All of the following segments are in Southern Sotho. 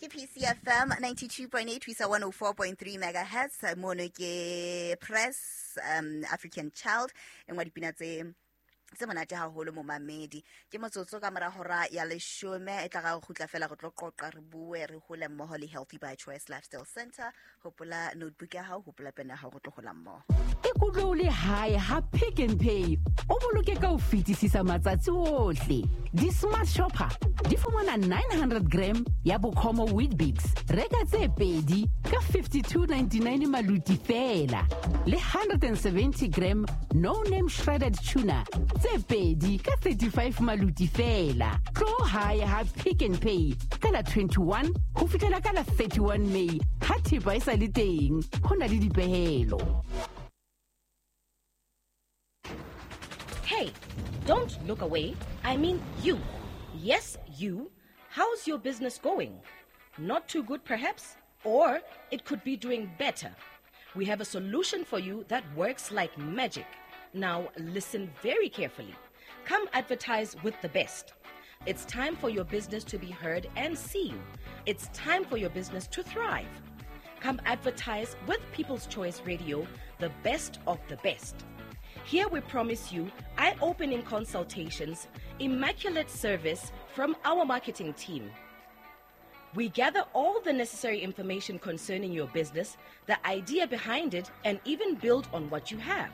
Ke PCFM 92.8 ho isa 104.3 megahertz. Mono ke Press African Child, e nngwe ya dipina tse monate haholo momamedi. Ke motsotso ka mora hora ya 10, e tla ga go kgutla fela re tlo qoqa, re bue, re hole mmoho le Healthy by Choice Lifestyle Center. Hopola notebook ya hao, hopola pene ya hao, re tlo hola mmoho. Ikutlwe o le hae ha Pick n Pay, o boloke ka ho fetisisa matsatsi ohle. Di-smart shopper di fumana 900 gram ya Bokomo Weet-Bix, reka tse pedi ka 52.99 maluti fela, le 170 gram No Name shredded tuna tse pedi ka 35 maluti fela. Tlo hae ha Pick n Pay ka la 21 ho fihlela ka la 31 May, ha thepa e sa le teng, ho na le dipehelo. Hey, don't look away. I mean you. Yes, you. How's your business going? Not too good, perhaps? Or it could be doing better. We have a solution for you that works like magic. Now, listen very carefully. Come advertise with the best. It's time for your business to be heard and seen. It's time for your business to thrive. Come advertise with People's Choice Radio, the best of the best. Here we promise you eye-opening consultations, immaculate service from our marketing team. We gather all the necessary information concerning your business, the idea behind it, and even build on what you have.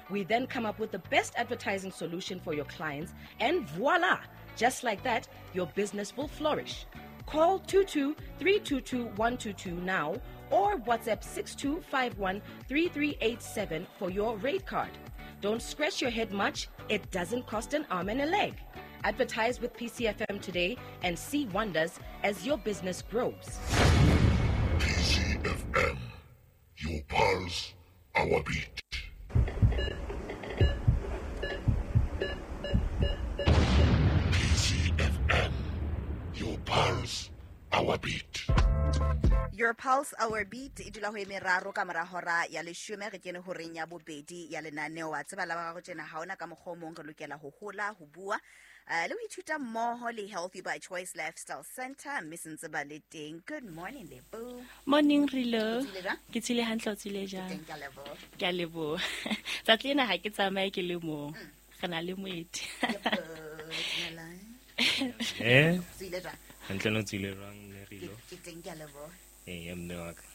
We then come up with the best advertising solution for your clients, and voila! Just like that, your business will flourish. Call 22-322-122 now or WhatsApp 6251-3387 for your rate card. Don't scratch your head much. It doesn't cost an arm and a leg. Advertise with PCFM today and see wonders as your business grows. PCFM, your pulse, our beat. PCFM, your pulse, our beat. Your pulse, our beat. E dula ho e meraro ka mora hora ya 10, re kene horeng ya bobedi ya lenaneo. Wa tseba la ba gago tjena, ha ona ka mokgwa o mong, re lokela ho hola, ho bua, le ho ithuta mmoho le Healthy by Choice Lifestyle Center, mme se ntse ba le teng. Good morning, Lebo. Morning, Rilo. O tswile jwang? Ke tswile hantle, o tswile jang? Ke teng, ke a leboha. Ke a leboha. Tsatsi lena ha ke tsamaye ke le mong. Re na le moeti. Lebo, dumelang. Eh? Tswile jwang? Hantle, no tswile jwang, mme Rilo? Ke teng, ke a leboha. Eh, mme wa ka.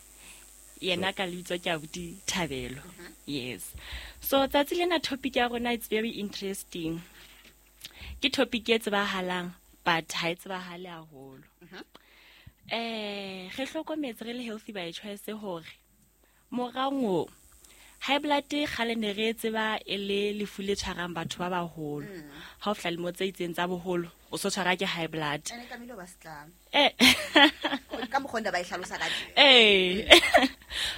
Yena ka lebitso ke abuti Thabelo. Yes. So tsatsi lena topic ya rona, it's very interesting. Ke topic e tsebahalang, but ha e tsebahale haholo. Re hlokometse re le Healthy by Choice hore morango high blood kgale ne re e tseba e le lefu le tshwarang batho ba baholo. Ha o fihla lemo tse itseng tsa boholo, o so tshwara ke high blood. Ene tlamehile ho ba setlamo. Ka mokgwa o ne ba e hlalosa ka teng.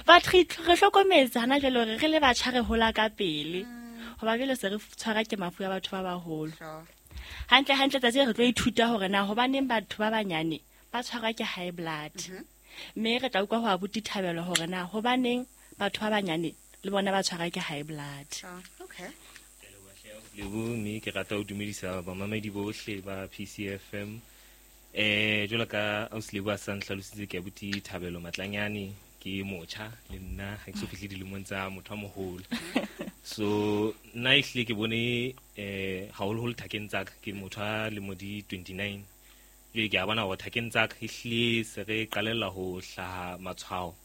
But re hlokometse hana jwale hore re le batjha re hola ka pele. Hoba jwale se re tshwara ke mafu a batho ba baholo. Hantle hantle tsatsi re tlo ithuta hore na hobaneng batho ba banyane ba tshwarwa ke high blood. Mme re tla utlwa ho abuti Thabelo hore na hobaneng batho ba banyane le bona ba tshwarwa ke high blood. Okay. Lebo, mme ke rata ho dumedisa bamamedi bohle ba PCFM. Jwalo ka ausi Lebo a sa ntlhalositse, ke abuti Thabelo Matlanyane, ke motjha le nna, ha ke so fihle dilemong tsa motho a moholo. So nna ehlile ke bone, haholoholo thakeng tsa ka, ke motho a lemo di 29. Jwale ke a bona hore thakeng tsa ka ehlile se re qalella ho hlaha matshwao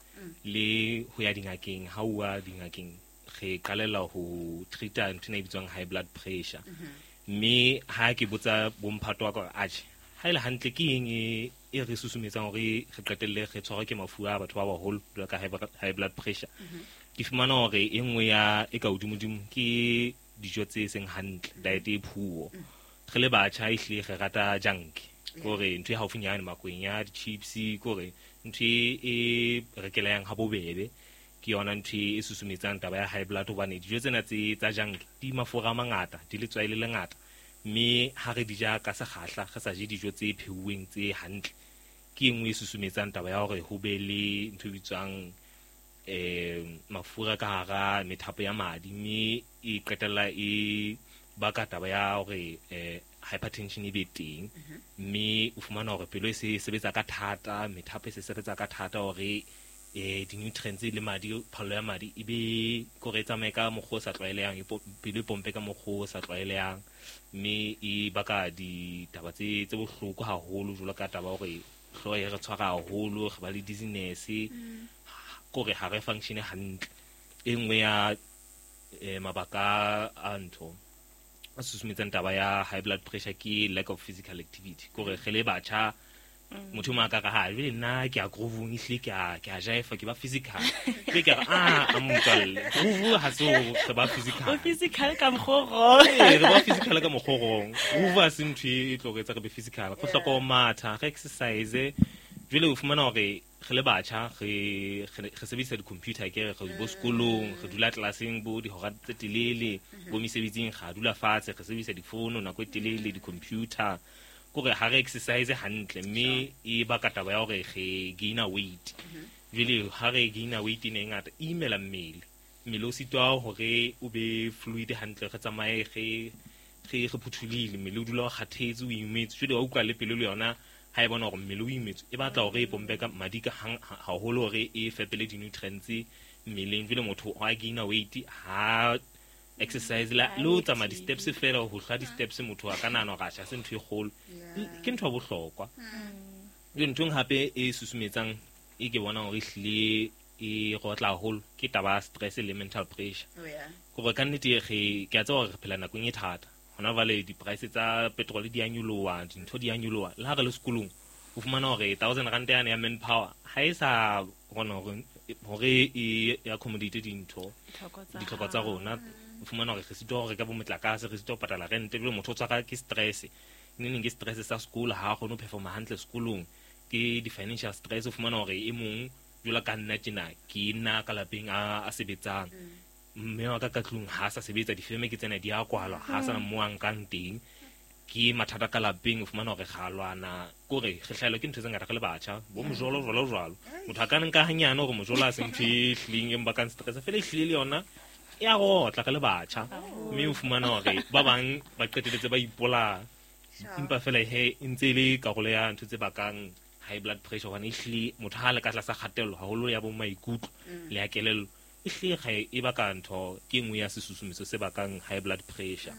le ho ya dingakeng. Ha o ya dingakeng, re qalella ho treat-a ntho ena e bitswang high blood pressure. Mme ha ke botsa bomphato wa ka hore, atjhe, ha e le hantle ke eng e re susumetsang hore re qetelle re tshwarwa ke mafu a batho ba baholo jwalo ka high blood pressure? Ke fumana hore e nngwe ya e ka hodimodimo ke dijo tse seng hantle, diet e poor. Re le batjha ehlile re rata junk, ke hore ntho e haufinyane makwenya, di-chips, ke hore ntho e rekelehang ha bobebe, ke yona ntho e susumetsang taba ya high blood, hobane dijo tsena tsa junk di mafura a mangata, di letswai le lengata, mme ha re di ja ka sekgahla, re sa je dijo tse pheuweng tse hantle, ke e nngwe e susumetsang taba ya hore ho be le ntho e bitswang, mafura ka hara methapo ya madi, mme e qetella e baka taba ya hore hypertension e be teng, mme o fumana hore pelo e se sebetsa ka thata, methapo e se sebetsa ka thata hore di-nutrients le madi, phallo ya madi e be kore e tsamaye ka mokgwa o sa tlwaelehang, pelo e pompe ka mokgwa o sa tlwaelehang, mme e baka ditaba tse bohloko haholo, jwalo ka taba hore hlooho e re tshwara haholo, re ba le dizziness, kore ha re function hantle. E nngwe ya mabaka a ntho a susumetsang taba ya high blood pressure ke lack of physical activity, kore re le batjha motho ma ka re ha jwale nna ke a groove-ong, ehlile ke a jaifa, ke ba physical. Ke re a motswalle, groove ha se re ba physical. O physical ka mokgwa o wrong. Ee, re ba physical ka mokgwa o wrong. Groove ha se ntho e tlo re etsa re be physical. Go hloka ho matha, re exercise. Jwale o fumana hore re le batjha re sebedisa di-computer, ke re bo sekolong, re dula tlelaseng bo dihora tse telele, bo mesebetsing ra dula fatshe, re sebedisa difono nako e telele, di-computer. Kore ha re exercise hantle, mme e baka taba ya hore re gaina weight. Jwale ha re gaina weight ena e ngata, e imela mmele. Mmele o sitwa hore o be fluid hantle, re tsamaye re phuthulohile, mmele o dula o kgathetse, o imetse. Jwale wa utlwa le pelo le yona ha e bona hore mmele o imetse, e batla hore e pompe ka madi ka haholo hore e fepele di-nutrients mmeleng. Jwale motho ha gaina weight, ha exercise la le o tsamaya di-steps fela, ho hlwa di-steps motho a ka nahana hore atjha se ntho e kgolo. Ke ntho ya bohlokwa. Jwale ntho e hape e susumetsang e ke bonang hore ehlile e rotla haholo ke taba ya stress le mental pressure. Kore ka nnete ke a tseba hore re phela nakong e thata. Hona jwale di-price tsa petrol di a nyoloha, dintho di a nyoloha. Le ha re le sekolong o fumana hore 1000 rand yane ya manpower ha e sa kgona hore e accommodate dintho, ditlhoko tsa rona. O fumana hore re sitwa ho reka bo motlakase, re sitwa ho patala rent, ebile motho o tshwara ke stress. Neng ke stress sa sekolo, ha a kgone ho performa hantle sekolong, ke di-financial stress. O fumana hore e mong jwalo ka nna tjena, ke nna ka lapeng a sebetsang, mme wa ka ka tlung ha sa sebetsa, difeme ke tsena di a kwalwa, ha sa mo a nkang teng, ke mathata ka lapeng. O fumana hore ga lwana, kore re hlahelwa ke ntho tse ngata re le batjha, bo mojolo jwalo jwalo. Motho a ka nka hanyane hore mojolo ha se ntho e hlileng e mbakang stress, fela e hlile le yona e a rotla re le batjha. Mme o fumana hore ba bang ba qeteletse ba ipolaya, empa fela he e ntse e le karolo ya ntho tse bakang high blood pressure, hobane ehlile motho ha le ka tlasa kgatello haholo ya bo maikutlo le ya kelello, ehlile ga e baka ntho ke nngwe ya sesusumetso se bakang high blood pressure.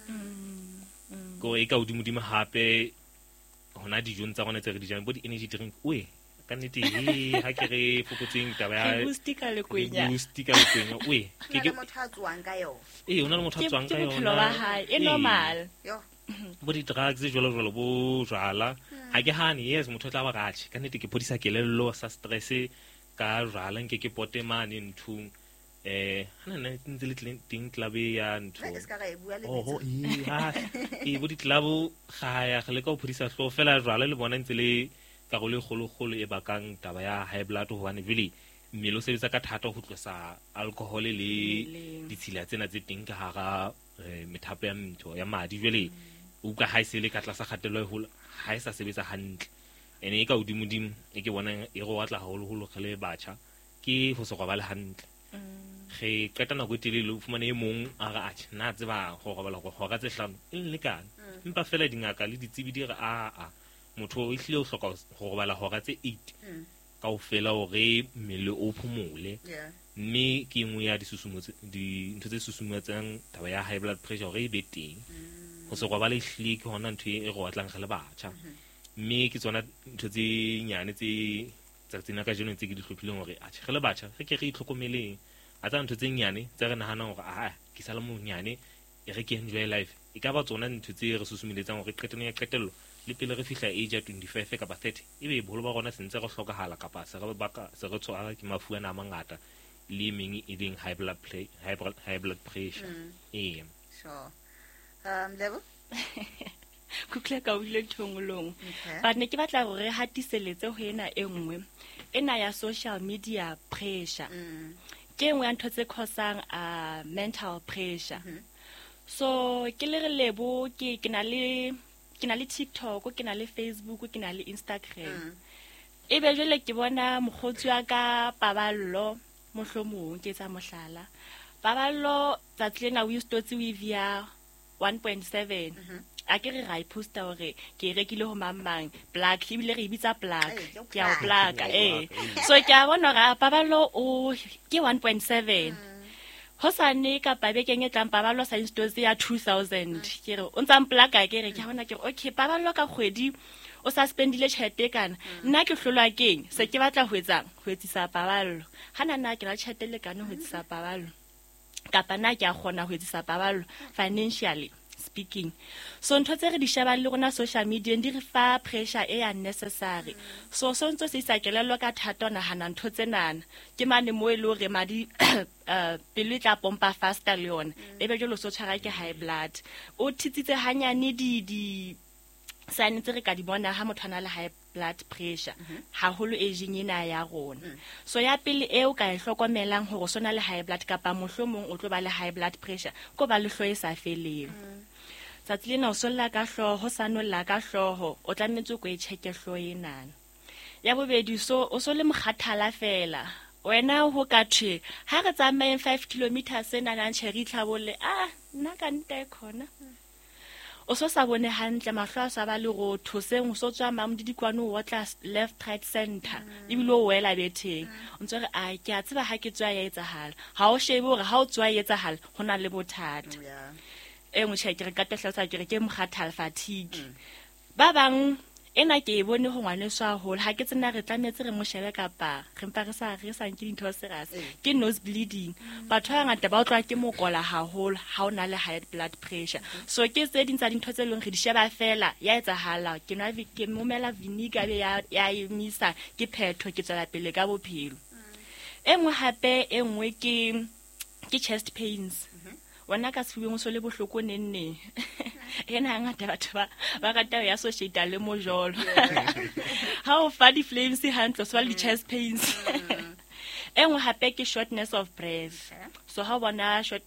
Ko e ka hodimodimo hape hona dijong tsa rona tse re di jang, bo di-energy drink, oe ka nnete he ha ke re fokotseng taba ya Re boost ka lekwenya. Re boost ka lekwenya, oe. Ho na le motho a tswang ka yona. Ee, ho na le motho a tswang ka Ke bophelo yona. ba hae, e Ee. normal. Yo. Bo di-drugs jwalo jwalo, bo jwala. Ha ke hane, yes, motho o tla ba ratjhe. Ka nnete ke phodisa kelello sa stress ka jwala, nke ke pote mane nthong. Ha nna ntse le teng club e ya ntho. E ska ra e bua le Oho, bitso. ee, ha, ee, bo di-club ga ya, re leka ho phodisa hlooho fela jwala le bona ntse le karolo e kgolokgolo e bakang taba ya high blood, hobane jwale mmele o sebetsa ka thata ho tlosa alcohol le Mmeleng. ditshila tsena tse teng ka hara methapo ya ntho ya madi. Jwale o utlwa ha e se le ka tlasa kgatello e holo, ha e sa sebetsa hantle. Ene e ka hodimodimo e ke bonang e re otla haholoholo re le batjha ke ho se robale hantle. Re qeta nako e telele, o fumane e mong a re, atjhe, nna tseba ho robala hore hora tse 5 e nlekane. Empa fela dingaka le ditsebi di re, aa, motho o ehlile o hloka ho robala hora tse 8 kaofela hore mmele o phomole. Mme ke e nngwe ya dintho tse susumetsang taba ya high blood pressure hore e be teng. Ho se robale ehlile ke hona ntho e re otlang re le batjha. Mme ke tsona ntho tse nyane tse tsatsing la kajeno tse ke di hlophileng hore atjhe re le batjha re ke re itlhokomeleng. A tsa ntho tse nyane tse re nahanang hore aa ke sa le monyane e re ke enjoy life, e ka ba tsona ntho tse re susumelletsang hore qetellong ya qetello le pele re fihla age ya 25 kapa 30 ebe boholo ba rona se ntse re hlokahala kapa se re baka se re tshwara ke mafu ana a mangata le e meng e leng high blood high blood pressure. Ee. Sure. Lebo? Kutlwe ka utlwile ntho e nngwe le nngwe. Okay. But ne ke batla hore re hatiseletse ho ena e nngwe, ena ya social media pressure. Ke e nngwe ya ntho tse causang mental pressure. So ke le re Lebo, ke na le, ke na le TikTok, ke na le Facebook, ke na le Instagram. Ebe jwale ke bona mokgotsi wa ka Paballo, mohlomong ke etsa mohlala. Paballo tsatsi lena o istotse weave ya 1.7 a ke re ra e posta hore ke e rekile ho mang mang plug, ebile re e bitsa plug. Ee, ke Ke a o plug. plug, ee. So ke a bona hore Paballo o ke 1.7. Hosane kapa bekeng e tlang Paballo sa installse ya 2000. Ke re o ntsa mplaka, ke re ke a bona, ke re okay, Paballo ka kgwedi o sa spendile tjhelete e kana. Nna ke hlolwa keng? Se ke batla ho etsang? Ho etsisa Paballo. Ha nna nna ke na le tjhelete e lekane ho etsisa Paballo, kapa nna ke a kgona ho etsisa Paballo financially speaking. So ntho tse re di shebang le rona social media di re fa pressure e unnecessary. So so ntso se isa kelello ka thata ho nahana ntho tsenana. Ke mane mo e le hore madi pelo e tla pompa faster le yona. Ebe jwale o so tshwara ke high blood. O thitsitse hanyane di sign tse re ka di bona ha motho a na le high blood pressure, haholo aging ena ya rona. So ya pele e o ka e hlokomelang hore o so na le high blood kapa mohlomong o tlo ba le high blood pressure, ko ba le hlooho e sa feleng. Tsatsi lena o solla ka hlooho, sa nolla ka hlooho, o tlametse o ko e check-e hlooho enana. Ya bobedi, so o so le mokgathala fela. Wena ho ka thwe ha re tsamayeng 5 kilometers senana ntjhe re itlhabolle, nna ka nnete e khona. O so sa bone hantle, mahlo a sa ba lerotho, seng o so tswa mamodidikwane o otla left right center, ebile o wela betheng. O ntso re, a ke a tseba ha ke tswa ya etsahala. Ha o shebe hore ha o tswa ya etsahala, ho na le bothata. E nngwe tjhe, ke re ka hlalosa ke re ke mokgathala, fatigue. Ba bang ena ke e bone ho ngwaneso haholo, ha ke tsena re tlametse re mo shebe kapa re mpa re sa re sa nke dintho serious. Ke nose bleeding. Batho ba bangata ba utlwa ke mokola haholo ha o na le high blood pressure. So ke tse ding tsa dintho tse leng re di sheba fela ya etsahala, ke nwa ke momela vinegar be ya emisa, ke phetho, ke tswela pele ka bophelo. E nngwe hape, e nngwe ke chest pains. Wena ka sefubeng o so le bohloko neng neng. Ena hangata batho ba rata ho ya associate le mojolo. Ha o fa di-flames hantle, o so ba le di-chest pains. E nngwe hape ke shortness of breath. So ha o bona short,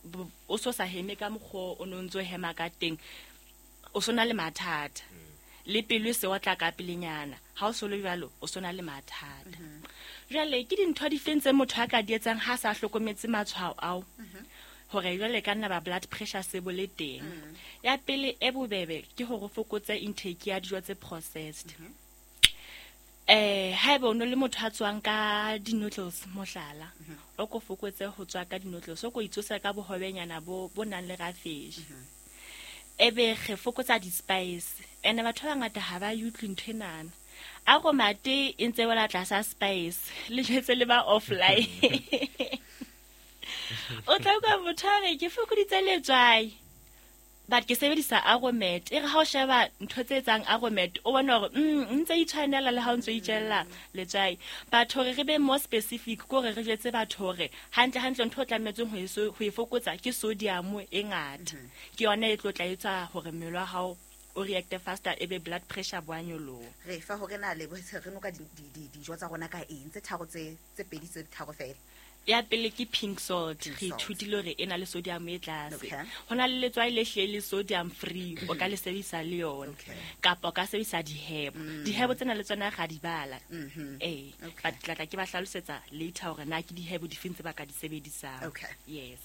o so sa heme ka mokgwa o no ntso hema ka teng, o so na le mathata. Le pelo e se otla ka pelenyana. Ha o so le jwalo, o so na le mathata. Jwale ke dintho difeng tse motho a ka di etsang ha sa hlokometse matshwao ao? Hore jwale ka nna ba blood pressure se bo le teng. Ya pele e bobebe ke hore o fokotse intake ya dijo tse processed. Haeba o no le motho a tswang ka di-noodles mohlala, o ko fokotse ho tswa ka di-noodles, o ko itsosa ka bohobenyana bo nang le rafeji. Ebe re fokotsa di-spice. Ene batho ba bangata ha ba e utlwe ntho enana. A romate e ntse wela tlasa spice, le jwetse le ba offline. O tla utlwa motho a re ke fokoditse letswai, but ke sebedisa Aromat. E re ha o sheba ntho tse etsang Aromat, o bona hore, ntse itshwanela le ha o ntso itjella letswai. But hore re be more specific, ke hore re jwetse batho hore hantle hantle ntho o tlametseng ho e fokotsa ke sodium e ngata. Ke yona e tlo tla etsa hore mmele wa hao o react faster, ebe blood pressure bo a nyoloha. Re fa hore na le re noka dijo tsa rona ka eng, tse tharo tse pedi tse tharo fela. Ya pele ke pink salt. Pink Re salt. ithutile hore e na le sodium e tlase. Okay. Ho na le letswai le hle le sodium free, o ka le sebedisa le yona. Okay. Kapa o ka sebedisa di-herb. Di-herb tsena le tsona ra di bala. Ee. Okay. But tla tla ke ba hlalosetsa later hore na ke di-herb difeng tse ba ka di sebedisang. Okay. Yes.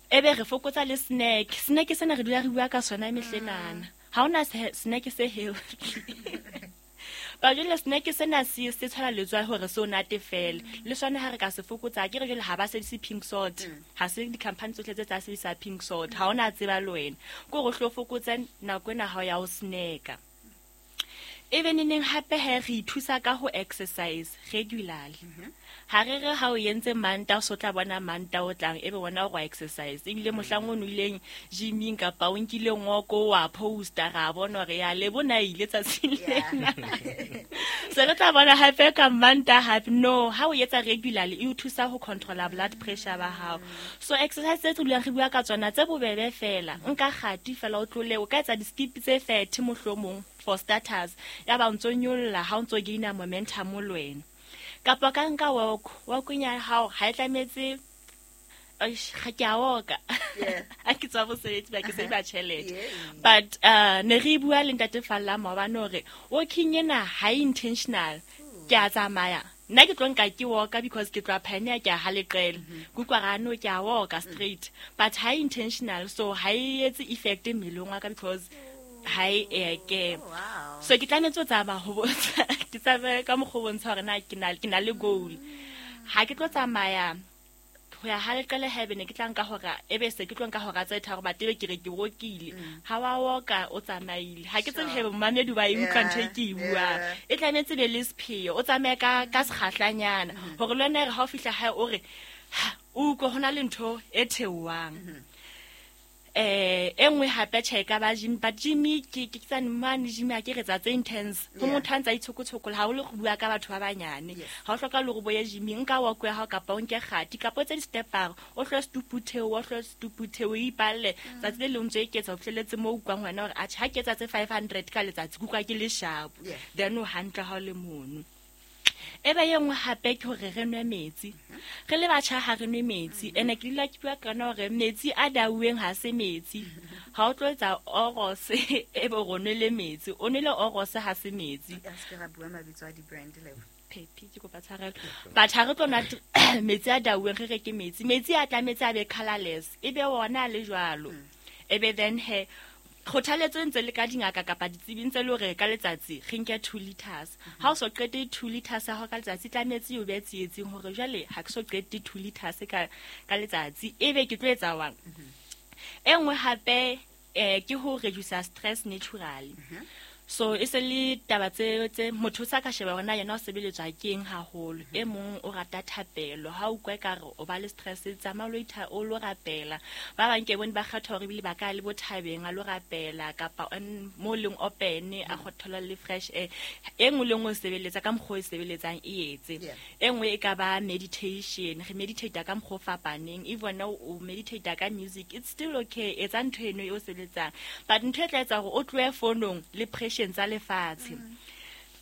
Ebe re fokotsa le snack. Snack sena re dula re bua ka sona mehlenana. Ha hona snack se healthy. Ba jwale snack sena se tshwana letswai hore se o natefele. Le sona ha re ka se fokotsa, ke re jwale ha ba sebedise pink salt. Ha se di-company tsohle tse tsa sebedisa pink salt. Ha ona tseba le wena. Ke hore o hlo fokotse nako ena ha o ya ho snacka. Ebe neneng hape he re ithusa ka ho exercise regularly. Ha re re ha o entse Manta, o so tla bona Manta o tlang, ebe wena o exercise. Ebile mohlang o nwileng gyming kapa o nkile ngoko wa posta, ra bona hore ya le bona ile tsatsing lena. Se re tla bona hape ka Manta hape. No, ha o etsa regularly, e o thusa ho controla blood pressure ba hao. So exercise tse dulang re bua ka tsona tse bobebe fela. Nka kgati fela o tlole, o ka etsa di-skip tse 30 mohlomong for starters. Ya ba o ntso nyolla ha o ntso gaina momentum le wena. Kapa ka nka walk, walk ya hao ha e tlametse, eish, ga ke a walka. Yeah. Ha ke tswa mosebetsi, ba ke sebetsa tjhelete. Yeah. But ne re bua le Ntate Falla maobane hore walking ena ha e intentional. Ke a tsamaya. Nna ke tlo nka ke walka because ke tloa Pioneer ke a ha Leqele. Ke utlwa ra no ke a walka straight. But ha e intentional, so ha e etse effect mmeleng wa ka because ha e ke. So ke tlametse ho tsamaya ho bontsha, ke tsamaye ka mokgwa o bontsha hore na ke na le goal. Ha ke tlo tsamaya ho ya ha Leqele haebe ne ke tla nka hora, ebe se ke tlo nka hora tse tharo, but ebe ke re ke wokile. Ha wa woka o tsamaile. Ha ke tsebe hebe momamedi ba e utlwa ntho e ke e buang. E tlametse be le sepheo, o tsamaye ka sekgahlanyana. Hore le wena re ha o fihla hae o re, ha, o utlwe ho na le ntho e theohang. E nngwe hape tjhe e ka ba gym, but gym ke tsane mane gym ha ke re tsa tse intense. Ho motho a ntsa itshokotshokola, ha o le go bua ka batho ba banyane. Ha o hloka le hore bo ye gym, nka walk ya hao kapa o nke kgati, kapa o tse di-step-ara, o hlwe setupu theo, o hlwe setupu theo, o ipalle. Tsatsi le leng o ntso eketsa ho fihlelletse moo o utlwang wena hore, atjhe, ha ke etsa tse 500 ka letsatsi, ke utlwa ke le sharp. Then o hantle ha o le mono. E be e nngwe hape ke hore re nwe metsi. Re le batjha ha re nwe metsi. Ene ke dula ke bua ka yona hore metsi a dauweng ha se metsi. Ha o tlo etsa orose, e be o nwele metsi. O nwele orose ha se metsi. A se ke ra bua mabitso a di-brand le. Phephi, ke kopa tshwarelo. But ha re tlo nwa metsi a dauweng, re reke metsi. Metsi a tlametse a be colorless. E be ona a le jwalo. E be then he, kgothaletso e ntse le ka dingaka kapa ditsebi ntse le hore ka letsatsi re nke 2 liters. Ha o so qete 2 liters ya hao ka letsatsi, tlametse o be tsietsing hore jwale ha ke so qete 2 liters ka letsatsi, ebe ke tlo etsa jwang? E nngwe hape, ke ho reduce stress naturally. So e se le taba tse motho o sa ka sheba hore na yena o sebeletswa ke eng haholo. E mong o rata thapelo, ha o utlwa ekare o ba le stress, tsamaya o lo itha, o lo rapela. Ba bang ke bone ba kgetha hore ebile ba ka le bo thabeng a lo rapela, kapa mo leng open, a kgothola le fresh air. E nngwe le nngwe o sebeletsa ka mokgwa o e sebeletsang e etse. E nngwe e ka ba meditation, re meditate ka mokgwa o fapaneng. If wena o meditate ka music, it's still okay, etsa ntho eno e o sebeletsang. But ntho e tla etsa hore o tlohe fonong le pressure tsa lefatshe.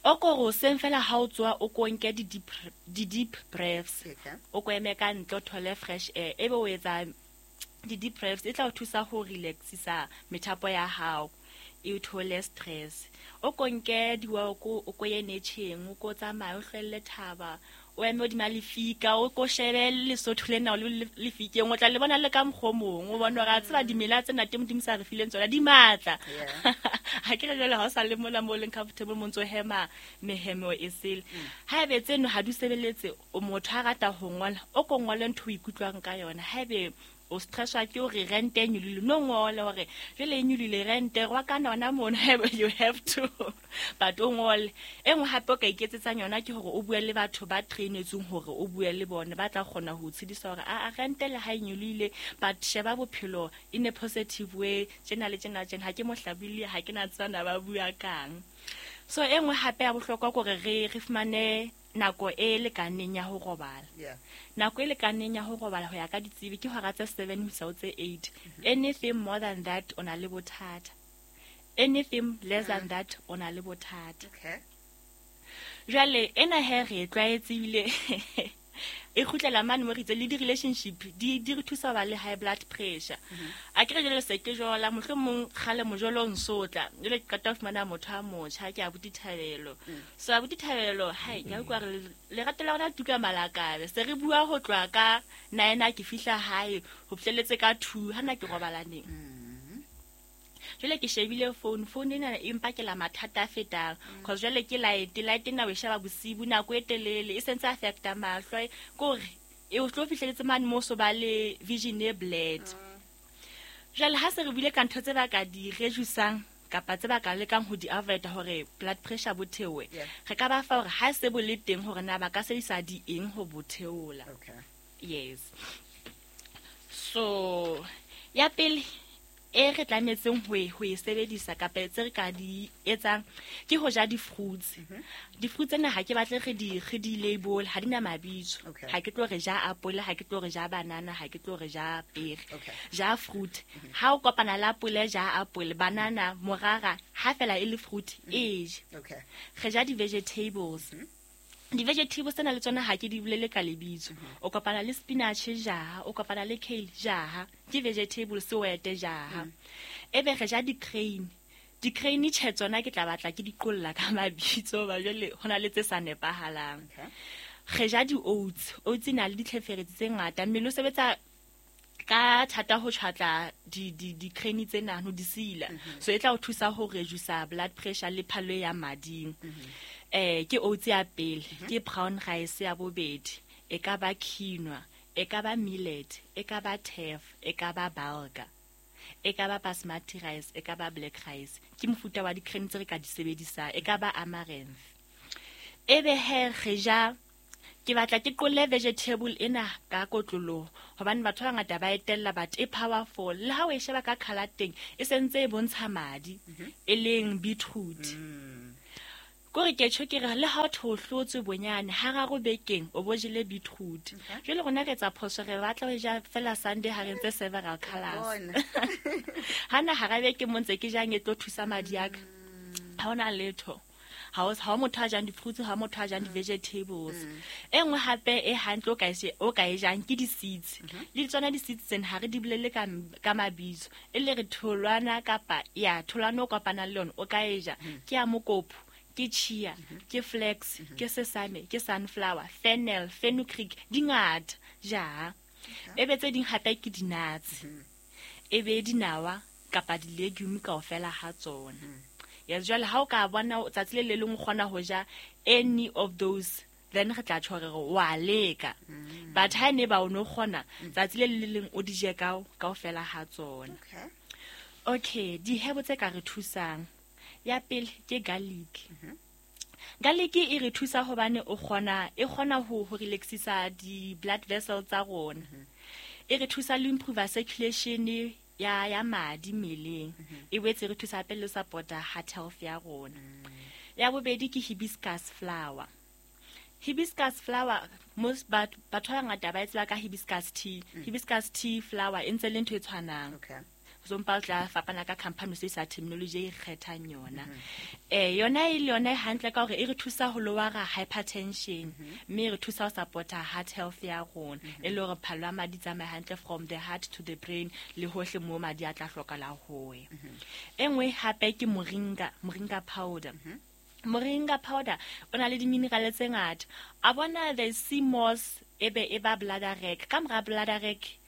O ko re hoseng fela ha o tsoha, o ko nke di-deep breaths. O ko eme ka ntle, o thole fresh air. Ebe o etsa di-deep breaths, e tla o thusa ho relaxisa methapo ya hao, e o theole stress. O ko nke di-walk, o ko ye nature-eng, o ko tsamaye, o hlwelle thaba, o eme hodima lefika, o ko shebe Lesotho lena o le lefikeng, o tla le bona le ka mokgwa o mong, o bone hore a tseba dimela tsena teng Modimo sa re fileng tsona di matla. Ha ke re jwale ha o sa le mona moo o leng comfortable, mo ntso hema mehemo e sele. Haebe tseno ha di sebeletse, o motho a rata ho ngola, o ko ngole ntho o ikutlwang ka yona. Haebe o stresswa ke hore rent e nyolohile, no ngole hore jwale e nyolohile rent, wa ka nona mono, haebe you have to, but o ngole. E nngwe hape o ka iketsetsang yona ke hore o bue le batho ba trainetsweng hore o bue le bona, ba tla kgona ho o tshedisa hore, a, rent le ha e nyolohile, but sheba bophelo in a positive way, tjena le tjena, tjena. Ha ke mohlabile, ha ke na tseba ba bua kang. So e nngwe hape ya bohlokwa ke hore re fumane nako e lekaneng ya ho robala. Nako e lekaneng ya ho robala ho ya ka ditsebi ke hora tse 7 ho isa ho tse 8. Anything more than that o na le bothata. Anything less than that o na le bothata. Jwale ena he re e tlwaetse ebile e kgutlela mane mo re itse le di-relationship di re thusa ho ba le high blood pressure. A ke re jwale se ke jola, mohlomong kgale mojolo o nsotla, jwale ke qeta ho fumana motho a motjha, ke abuti Thabelo. So abuti Thabelo, hai, ke a utlwa hore lerato la rona le tuka malakabe. Se re bua ho tloha ka 9 ha ke fihla hae, ho fihlelletse ka 2, ha nna ke robala neng. Jwale ke shebile phone, phone ena e mpakela mathata a fetang. Cause jwale ke light, light ena o e sheba bosibu nako e telele, e sentse affecta mahlo. Ke hore e o tlo fihlelletse mane mo so ba le vision e blurred. Jwale ha se re buile ka ntho tse ba ka di reduce-ang kapa tse ba ka lekang ho di avoid hore blood pressure bo theohe, re ka ba fa hore ha se bo le teng hore na ba ka sebedisa di eng ho bo theola. Yes. So ya pele e re tlametseng ho e sebedisa kapa tse re ka di etsang ke ho ja di-fruits. Di-fruits tsena ha ke batle re di label, ha di na mabitso. Ha ke tlo re ja apole, ha ke tlo re ja banana, ha ke tlo re ja pere. Ja fruit. Ha o kopana le apole, ja apole, banana, morara, ha fela e le fruit, e je. Re ja di-vegetables. Di-vegetables tsena le tsona ha ke di bolele ka lebitso. O kopana le spinach ja, o kopana le kale ja, ke vegetables o ete ja. Ebe re ja di-crane. Di-crane tjhe tsona ke tla batla ke di qolla ka mabitso, ba jwale ho na le tse sa nepahalang. Re ja di-oats. Oats e na le ditlheferetsi tse ngata. Mmele o sebetsa ka thata ho tjhwatla di-crane tsena ho di sila. So e tla o thusa ho reduce blood pressure le phallo ya mading. Ke oats ya pele, ke brown rice ya bobedi, e ka ba quinoa, e ka ba millet, e ka ba teff, e ka ba bulgur, e ka ba basmati rice, e ka ba black rice. Ke mofuta wa di-crane tse re ka di sebedisang, e ka ba amaranth. Ebe he re ja, ke batla ke qolle vegetable ena ka kotloloho hobane batho ba bangata ba etella, but e powerful. Le ha o e sheba ka colour teng, e sentse e bontsha madi, e leng beetroot. Kore ke tjho ke re le ha o hlotswe bonyane hararo bekeng o bo jele beetroot. Jwale rona re etsa phoso, re batla ho ja fela Sunday ha re ntse several colours. Hana hara beke mo ntse ke jang e tlo thusa madi a ka. Ha hona letho. Ha o motho a jang di-fruits, ha motho a jang di-vegetables. E nngwe hape e hantle o ka e jang ke di-seeds. Le tsona di-seeds tsena ha re di bolele ka mabitso. E le re tholwana kapa ya tholwana o kopanang le yona o ka e ja. Ke ya mokopu, ke chia, ke flax, ke sesame, ke sunflower, fennel, fenugreek, di ngata ja. Ebe tse ding hape ke di-nuts. Ebe dinawa kapa di-legume kaofela ha tsona. Ya jwale ha o ka bona tsatsi le le leng o kgona ho ja any of those, then re tla tjho re re wa leka. But ha ne ba o no kgona tsatsi le le leng o di je kaofela ha tsona. Okay, dihebo tse ka re thusang. Ya pele ke garlic. Garlic e re thusa hobane o kgona e kgona ho relaxisa di-blood vessels tsa rona. E re thusa le improve circulation ya madi mmeleng. E boetse re thusa hape le support-a heart health ya rona. Ya bobedi ke hibiscus flower. Hibiscus flower, most batho ba bangata ba e tseba ka hibiscus tea. Hibiscus tea flower e ntse le ntho e tshwanang. So mpa o tla fapana ka company se sa terminology e kgethang yona. Yona e le yona e hantle ka hore e re thusa ho lowera hypertension, mme e re thusa ho support-a heart health ya rona. E le hore phallo ya madi tsamaye hantle from the heart to the brain le hohle moo madi a tla hlokahala ho ya. E nngwe hape ke moringa, moringa powder. Moringa powder o na le di-mineral tse ngata. A bona the sea moss e be e ba bladderwrack. Ka mora bladderwrack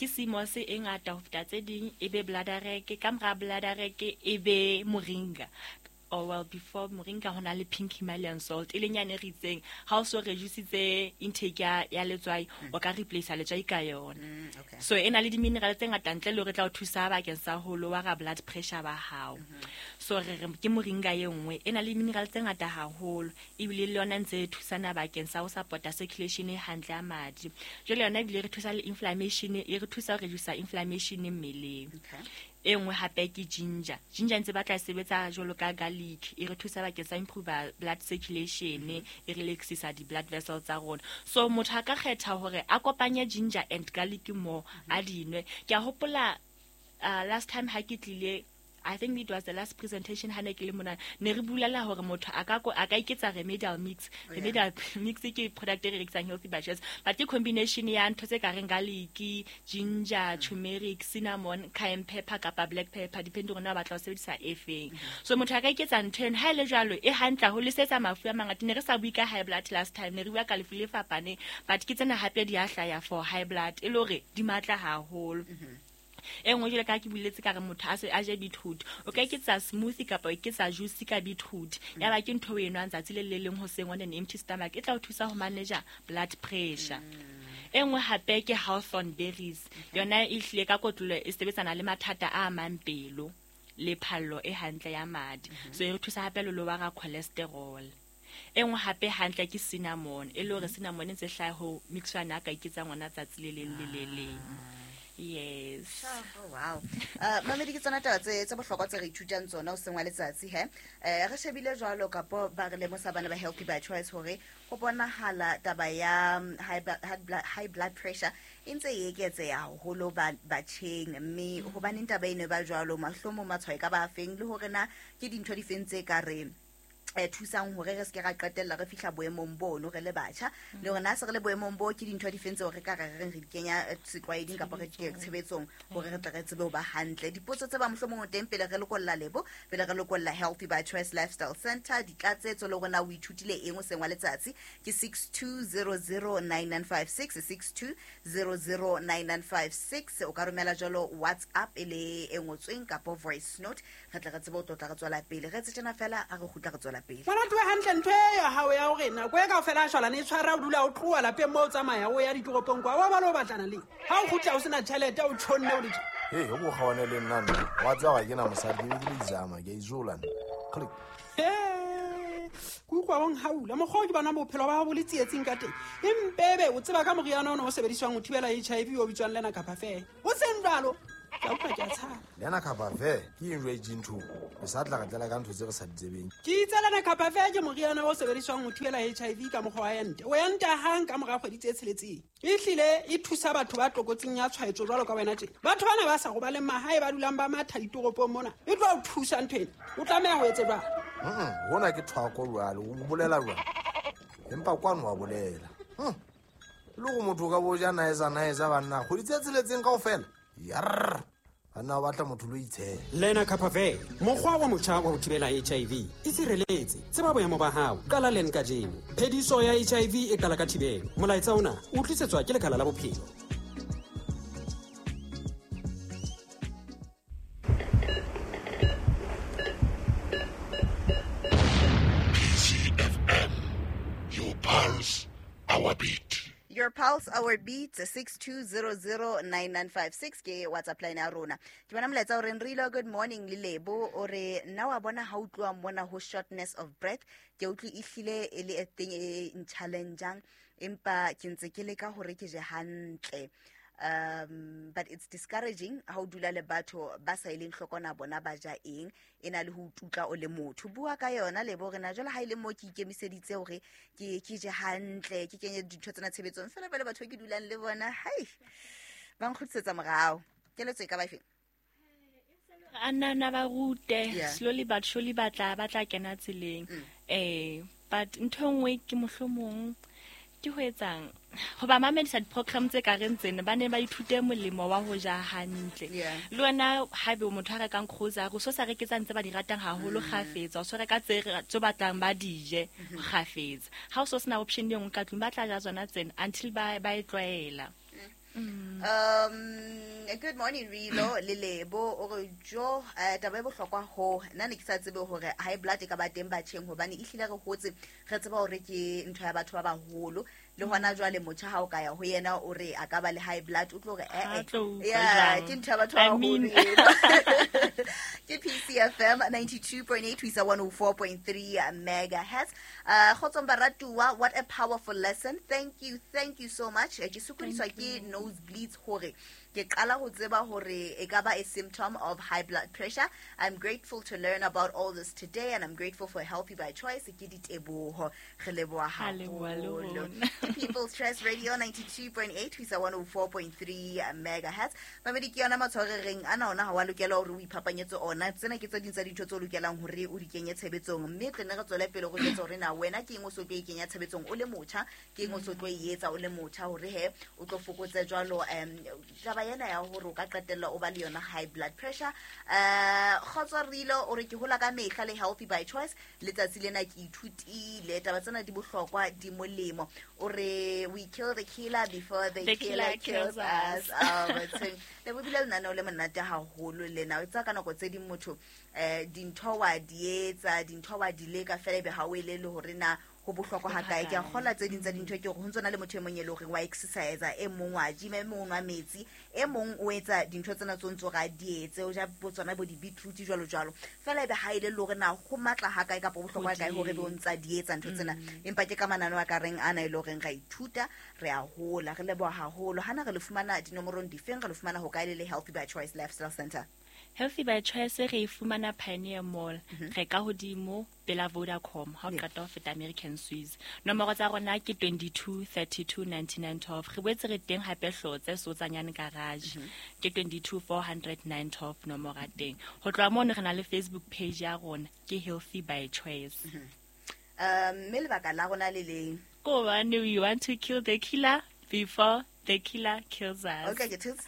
ke sea moss e ngata ho feta tse ding, e be bladderwrack. Ka mora bladderwrack e be moringa. Or well, before moringa ho na le pink Himalayan salt, e leng yane re itseng ha o so reduce intake ya letswai, o ka replace letswai ka yona. So e na le di-mineral tse ngata ntle le hore tla o thusa bakeng sa ho lowera blood pressure ba hao. So re re ke moringa e nngwe e na le mineral tse ngata haholo, ebile le yona ntse e thusana bakeng sa ho support-a circulation e hantle ya madi. Jwale yona ebile re thusa le inflammation, e re thusa ho reduce inflammation mmeleng. E nngwe hape ke ginger. Ginger ntse batla sebetsa jwalo ka garlic, e re thusa bakeng sa improve blood circulation, e relaxisa di-blood vessels tsa rona. So motho a ka kgetha hore a kopanye ginger and garlic mo a dinwe. Ke a hopola last time ha ke tlile, I think it was the last presentation ha ne ke le mona, ne re bulela hore motho a ka iketsa remedial mix. Remedial mix ke product e re rekisang Healthy by Choice, but ke combination ya ntho tse ka reng garlic, ginger, turmeric, cinnamon, cayenne pepper kapa black pepper, depending on na batla ho sebedisa e feng. So motho a ka iketsa ntho eno ha ile jwalo e hantle ho lesetsa mafu a mangata. Ne re sa bue ka high blood last time, ne re bua ka lefu le fapaneng, but ke tsena hape di a hlaya for high blood e le hore di matla haholo. E nngwe jwale ka ke buletse ka re motho a se a je beetroot, o ka iketsa smoothie kapa o iketsa juice ka beetroot. Ya ba ke ntho e nwang tsatsi le le leng hoseng on an empty stomach, e tla o thusa ho manage blood pressure. E nngwe hape ke hawthorn berries. Yona e hlile ka kotlolo e sebetsana le mathata a amang pelo le phallo e hantle ya madi. So e re thusa hape le lowera cholesterol. E nngwe hape hantle ke cinnamon, e le hore cinnamon e ntse hlaha ho mixwa na ka iketsa ngwana tsatsi le leng le le leng. Yes. Oh, wow. Mamedi ke tsona taba tse bohlokwa tse re ithutang tsona hoseng wa letsatsi he. Re shebile jwalo kapo ba re lemosa bana ba Healthy by Choice hore ho bonahala taba ya high blood pressure e ntse e eketseha haholo batjheng, mme hobaneng taba eno e ba jwalo, mahlomong matshwao e ka ba feng, le hore na ke dintho di feng tse ka re Thusang hore re se ke ra qetella re fihla boemong bono re le batjha, le hore na se re le boemong bo ke dintho di feng tseo re ka re reng re di kenya setlwaeding kapa re di tshebetsong hore re tle re tsebe ho ba hantle. Dipotso tse ba mohlomong o teng pele re lokolla Lebo, pele re lokolla Healthy by Choice Lifestyle Center, ditlatsetso le hore na o ithutile eng o seng wa letsatsi ke 62009956, 62009956. O ka romela jwalo WhatsApp e le e ngotsweng kapa voice note, re tle re tsebe ho tlotla re tswela pele. Re etse tjena fela a re kgutla re tswela pele. Moratuwa hantle ntho e ya hao ya hore nako e kaofela a shwalane e tshwara, o dula o tloha lapeng moo o tsamaya o ya ditoropong kwa, wa ba le o batlana le ha o kgutla o sena tjhelete, o tjhonne o le tje. Hey, o bo kgawane le nna nna. Wa tseba ga ke na mosadi, ke be ke le izama, ke a izola nna. Click. He, ke utlwa o nhaula. Mokgwa o ke bona bophelo ba hao bo le tsietsing ka teng. Empebe o tseba ka moriana ona o sebediswang ho thibela HIV o bitswang Lenacapavir. O seng jwalo, ke a utlwa ke a tshaba. Lenacapavir ke eng jwale dintho? Re sa tla re tlela ka ntho tse re sa di tsebeng. Ke itse Lenacapavir ke moriana o sebediswang ho thibela HIV ka mokgwa wa ente. O enta hang ka mora kgwedi tse tsheletseng. Ehlile e thusa batho ba tlokotsing ya tshwaetso jwalo ka wena tjena. Batho bana ba sa robaleng mahae ba dulang ba matha ditoropong mona. E tlo o thusa ntho ena. O tlameha ho etse jwang? Hona ke thwako jwale, o bolela jwang? Empa kwano wa bolela. Le go motho o ka bo ja naesa naesa banna, kgwedi tse tsheletseng kaofela. Yarr. Banna ba batla motho lo itshela. Lenacapavir, mokgwa wa motjha wa ho thibela HIV. E sireletse, tseba boemo ba hao, qala len kajeno. Phediso ya HIV e qala ka thibelo. Molaetsa ona o tlisetswa ke Lekala la Bophelo. PCFM, your pulse, our beat. Your pulse, our beat, 62009956 ke WhatsApp line ya rona. Ke bona molaetsa o reng Rilo, good morning le Lebo, o re nna wa bona ha utloa mona ho shortness of breath, ke utlwe ehlile e le a thing e nchallengejang, empa ke ntse ke leka hore ke je hantle. But it's discouraging ha o dula le batho ba sa eleng hloko na bona ba ja eng, e na le ho tutla o le motho. Bua ka yona Lebo, re na jwale ha ile mo ke ikemiseditse hore ke je hantle, ke kenye dintho tsena tshebetsong, fela pele batho ke dulang le bona, hai, ba nkgutlisetsa morao. Keletso e ka ba efe? A nna na ba rute, slowly but surely ba tla kena tseleng. But ntho e nngwe ke mohlomong ke ho etsang ho ba mamedisa di-program tse ka reng tsena, ba ne ba ithute molemo wa ho ja hantle. Le wena haebe o motho a rekang grocery, o so sa reke tsa ntse ba di ratang haholo kgafetsa, o so reka tse batlang ba di je kgafetsa. Ha o so sena option e nngwe ka tlung, ba tla ja tsona tsena until ba e tlwaela. Good morning Rilo le Lebo, o re jo taba e bohlokwa ho nna ne ke sa tsebe hore high blood e ka ba teng batjheng, hobane ehlile re hotse re tseba hore ke ntho ya batho ba baholo. Le hona jwale motjha ha o ka ya ho yena o re a ka ba le high blood, o tlo re yeah, ke ntho ya batho ba baholo. Ke PCFM 92.8 ho isa 104.3 megahertz. Kgotsong baratuwa, what a powerful lesson. Thank you so much. Ke sokodiswa ke nosebleeds hore ke qala ho tseba hore e ka ba a symptom of high blood pressure. I'm grateful to learn about all this today, and I'm grateful for Healthy by Choice. Ke diteboho, re leboha haholo. People's Choice Radio 92.8 ho isa 104.3 megahertz. Mamedi ke yona matshwao re reng ana ona ha wa lokela hore o iphapanyetse ona. Tsena ke tse ding tsa dintho tse o lokelang hore o di kenye tshebetsong, mme re ne re tswele pele go etsa hore na wena ke eng o so tlo e kenya tshebetsong o le motjha, ke eng o so tlo e etsa o le motjha hore he o tlo fokotse jwalo taba ena ya hore o ka qetella o ba le yona high blood pressure. Kgotso Rilo o re ke hola ka mehla le Healthy by Choice, letsatsi lena ke ithutile taba tsena di bohlokwa, di molemo. O re we kill the killer before the killer kills us. Le bo bile lenaneo le monate haholo lena. O tsa ka nako tse ding motho dintho wa di etsa, dintho wa di leka fela ebe ha o elele hore na ho bohlokwa ha kae. Ke a kgola tse ding tsa dintho ke hore ho ntsona le motho e mong e le hore wa exercise, e mong wa gym, e mong wa metsi, e mong o etsa dintho tsena tso ntso ra di etse, o ja bo tsona bo di beetroot jwalo jwalo. Fela ebe ha ile le hore na ho matla ha kae kapa bohlokwa kae hore be o ntsa di etsa ntho tsena. Empa ke ka manano a ka reng ana e le hore ra ithuta, re a hola, re leboha haholo. Hana re le fumana dinomorong difeng, re le fumana ho kae le Healthy by Choice Lifestyle Center? Healthy by Choice re e fumana Pioneer Mall, re ka hodimo pela Vodacom, ha o qeta ho feta American Swiss. Nomoro tsa rona ke 22 32 99 12. Re boetse re teng hape Hlotse Sotsanyane garage, ke 22 400 912 nomoro ya teng. Ho tloha mono re na le Facebook page ya rona ke Healthy by Choice. Mme lebaka la rona le leng? Ko hobane we want to kill the killer before the killer kills us. Okay, ke thotse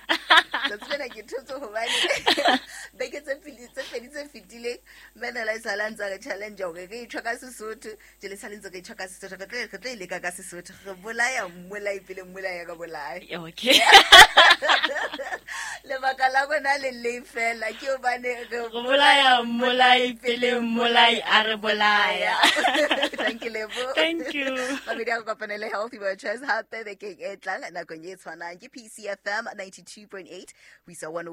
tsatsi lena, ke thotse hobane beke tse pele tse pedi tse fetileng mme la e sala ntse re challenge hore re itjho ka Sesotho, jele sale ntse re itjho ka Sesotho, re tlo e leka ka Sesotho, re bolaya mmolai pele mmolai ya ka bolaya. Okay. Lebaka la rona le leng fela ke hobane re Re bolaya mmolai pele mmolai a re bolaya. Thank you, Lebo. Thank you. Mamedi a go kopanele Healthy Virtuous hape bekeng e tlang nakong e tshwanang ke PCFM 92.8 ho isa 1.